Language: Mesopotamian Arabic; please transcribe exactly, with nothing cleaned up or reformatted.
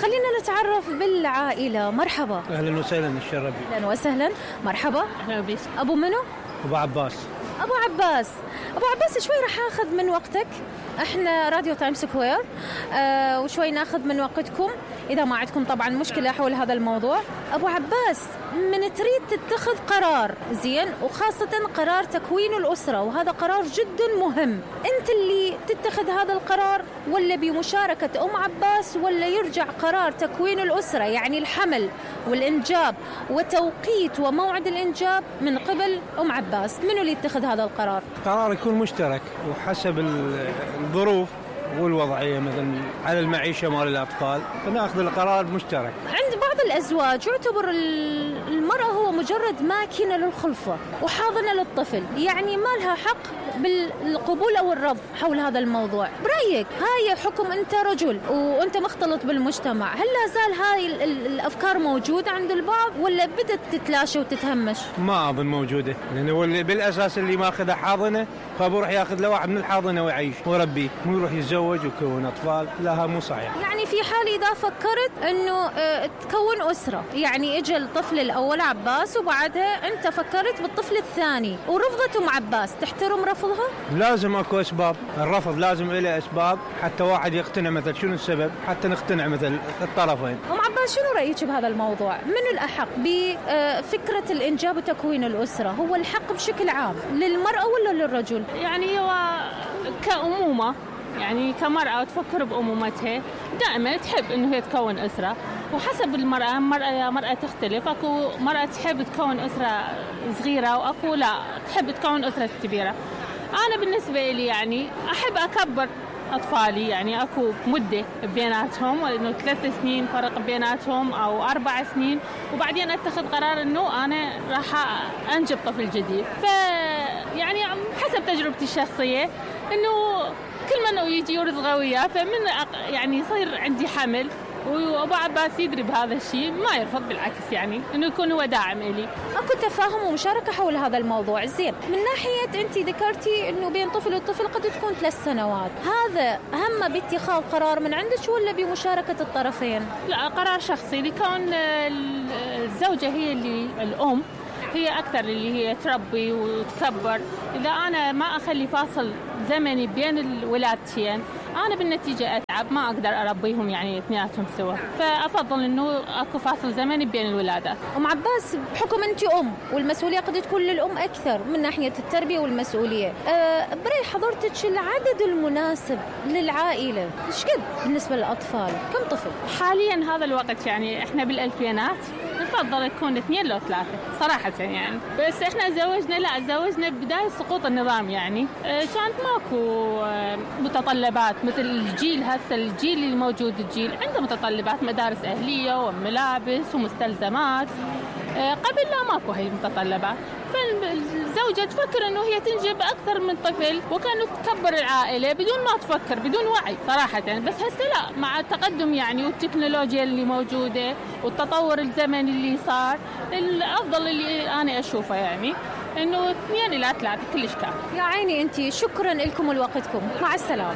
خلينا نتعرف بالعائلة. مرحبا. أهلا وسهلا. الشربي. أهلا وسهلا. مرحبا. أهلا بك. أبو منو؟ أبو عباس. أبو عباس. أبو عباس شوي رح أخذ من وقتك، إحنا راديو تايم سكوير، آه وشوي ناخذ من وقتكم إذا ما عندكم طبعا مشكلة حول هذا الموضوع. أبو عباس، من تريد تتخذ قرار زين، وخاصة قرار تكوين الأسرة، وهذا قرار جدا مهم، أنت اللي تتخذ هذا القرار ولا بمشاركة أم عباس، ولا يرجع قرار تكوين الأسرة يعني الحمل والإنجاب وتوقيت وموعد الإنجاب من قبل أم عباس؟ منو اللي يتخذ هذا القرار؟ قرار يكون مشترك وحسب الظروف والوضعية، مثلا على المعيشة مال الأطفال، فنأخذ القرار مشترك. عند بعض الأزواج يعتبر المرأة هو مجرد ماكينة للخلفة وحاضنة للطفل، يعني ما لها حق بالقبول أو الرفض حول هذا الموضوع. برأيك هاي حكم أنت رجل وأنت مختلط بالمجتمع، هل لا زال هاي الأفكار موجودة عند البعض ولا بدت تتلاشى وتتهمش؟ ما أظن موجودة، لأنه بالأساس اللي ماخذها حاضنة فبروح ياخذ له واحد من الحاضنة ويعيش ويربيه، مو يروح يتزوج ويكون أطفال، لا ما صحيح. يعني في حال إذا فكرت إنه اه تكون أسرة، يعني إجا الطفل الأول عباس وبعدها أنت فكرت بالطفل الثاني ورفضت أم عباس، تحترم رفضها؟ لازم أكو أسباب، الرفض لازم إله أسباب حتى واحد يقتنع مثل شنو السبب، حتى نقتنع مثل الطرفين. أم عباس شنو رأيك بهذا الموضوع؟ من الأحق بفكرة الإنجاب وتكوين الأسرة؟ هو الحق بشكل عام للمرأة ولا للرجل؟ يعني هو كأمومة، يعني كمرأة تفكر بأمومتها دائما تحب إنه هي تكون أسرة، وحسب المرأة، مرأة مرأة تختلف، أكو مرأة تحب تكون أسرة صغيرة وأكو لا تحب تكون أسرة كبيرة. أنا بالنسبة لي يعني أحب أكبر أطفالي، يعني أكو مدة بيناتهم، إنه ثلاث سنين فرق بيناتهم أو أربع سنين، وبعدين أتخذ قرار إنه أنا راح أنجب طفل جديد. ف يعني حسب تجربتي الشخصية إنه كل من يجي يرزق وياه، فمن يعني يصير عندي حمل وأبو عباس يدري بهذا الشيء ما يرفض، بالعكس يعني إنه يكون هو داعم إلي. أكو تفاهم ومشاركة حول هذا الموضوع. زين، من ناحية أنت ذكرتي إنه بين طفل وطفل قد تكون ثلاث سنوات، هذا هم باتخاذ قرار من عندك ولا بمشاركة الطرفين؟ لا، قرار شخصي، لكون الزوجة هي اللي الأم هي أكثر اللي هي تربي وتكبر. إذا أنا ما أخلي فاصل زمني بين الولادتين أنا بالنتيجة أتعب، ما أقدر أربيهم يعني اثنيناتهم سوا، فأفضل إنه أكو فاصل زمني بين الولادات. أم عباس، بحكم أنت أم والمسؤولية قد تكون للأم أكثر من ناحية التربية والمسؤولية، أه برأي حضرتك العدد المناسب للعائلة إيش قد بالنسبة للأطفال؟ كم طفل؟ حاليا هذا الوقت يعني إحنا بالألفينات نفضل يكون اثنين لو ثلاثة صراحة يعني، بس إحنا زوجنا لا زوجنا بداية سقوط النظام، يعني كانت ماكو متطلبات مثل الجيل هسه، الجيل اللي موجود الجيل عنده متطلبات، مدارس أهلية وملابس ومستلزمات، قبل لا ماكو هي المتطلبات، فالزوجة تفكر إنه هي تنجب أكثر من طفل وكانت تكبر العائلة بدون ما تفكر، بدون وعي صراحة يعني. بس هسه لا، مع التقدم يعني والتكنولوجيا اللي موجودة والتطور الزمني اللي صار، الأفضل اللي أنا أشوفه يعني إنه اثنين إلى ثلاثة كلش كافي. يا عيني أنتي، شكرا لكم ولوقتكم، مع السلامة.